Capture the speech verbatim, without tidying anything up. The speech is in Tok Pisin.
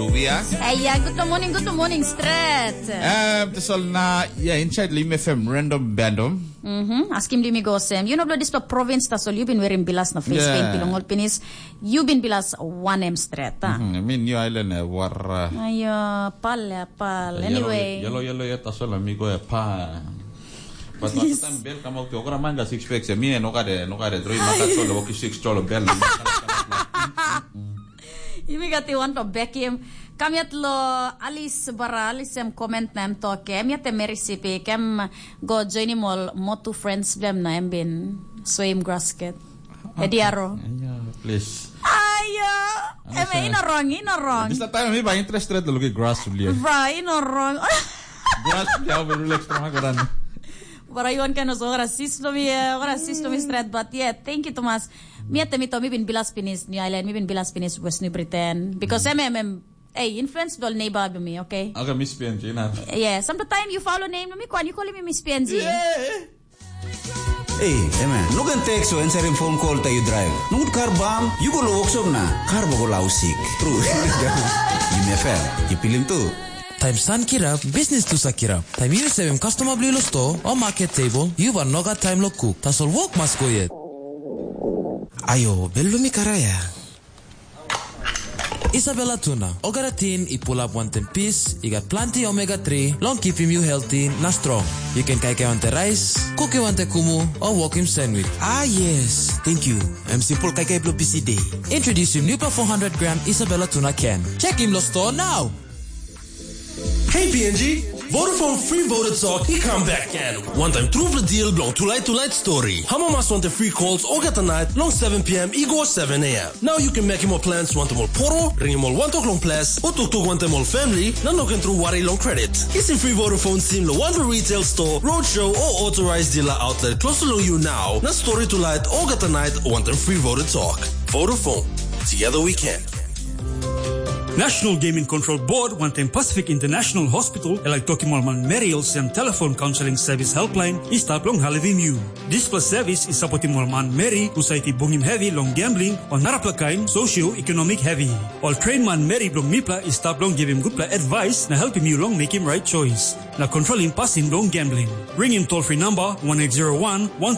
Via. Hey, yeah, good morning, good morning, straight. Um, tasol na, yeah, inside Lim F M, random bandom. Mm-hmm. Askim Limi go sem. You know, blood this province, tasol you been wearing bilas na face Yeah. paint pilong all pinis. You been bilas one M straight, ah. Mm-hmm. I mean, New Island, uh, war. Uh, Ayo, pal, ya, pal. Yellow, Anyway. Yellow, yellow, yet tasol, amigo, ya, pa. But Yes. last time bel come out, okra manga six packs, ya, mi, no kade, no kade, droi, maka, solo, oki six, solo, bel. Yumi gat i wanto bekim. Kam yet lo Alice bara, Alice em comment na em tok, em yet em Mary Sipi, kem go joinim ol motu friends blem na em bin soim grasket. Ediaro. Yeah, please. Ayo, em Alice, ino wrong, ino wrong. Bisa time mi ba interested lo look grass blia. Bra, ino wrong. Grass blia, be relax from agoran. Bara iwan kan oso ora sis lo mi, ora sis lo mi straight, but yeah, thank you Thomas. Mi ate mi to mi bin bilas pinis New Island, mi bin bilas pinis West New Britain. Because em em em Hey, influence dol neighbor be me, okay? Okay, Miss P N G, na. Yeah, sometimes you follow name me, kwan you call me Miss P N G. Yeah. Ei, ema, no ken teks o answerim phone call ta yu drive. Nogut kar bam, yu go lo workshop na kar bo go lau sik. True. Yu me fair, yu pilim tu. Taim san kirap, bisnis tu sa kirap. Taim yu sevim customer bli lo store o market table, yu bar nogat taim lo cook. Tasol work mas go yet. Ayo, bel lo mi karaya. Isabella Tuna, olgeta tin i pulap wantaim pis, i gat planti omega three long kipim yu healthy na strong. Yu ken kaikai wantaim rais, kuki wantaim kumu, o wokim sandwich. Ah yes, thank you. Em simple kaikai bilong busy day. Introducing new four hundred gram Isabella Tuna can. Check him lo store now. Hey P N G, Vodafone Free Voter Talk i come back again. Wantaim trupela deal bilong tulait tulait story. Hama mas wantaim free calls olgeta night long seven p.m. i go seven a.m. Now you can make more plans wantaim ol poro, ringim ol wantok long ples, o toktok wantaim ol family, na no ken tru wari long credit. Kisim free Vodafone sim lo wanpela retail store, roadshow o authorized dealer outlet close to you now. Na story tulait olgeta night wantaim free Voter Talk. Vodafone. Together we can. National Gaming Control Board wantaim Pacific International Hospital e laik tokim ol manmeri olsem telefon kaunseling sevis helpline i stap long helpim yu. Dispela sevis i sapotim ol manmeri husat i bungim hevi long gambling o narapela kain socio-economic hevi. Ol train manmeri bilong mipela i stap long givim gutpela advice na helpim yu long mekim right choice na kontrolim pasin bilong gambling. Ringim toll-free number one eight zero one one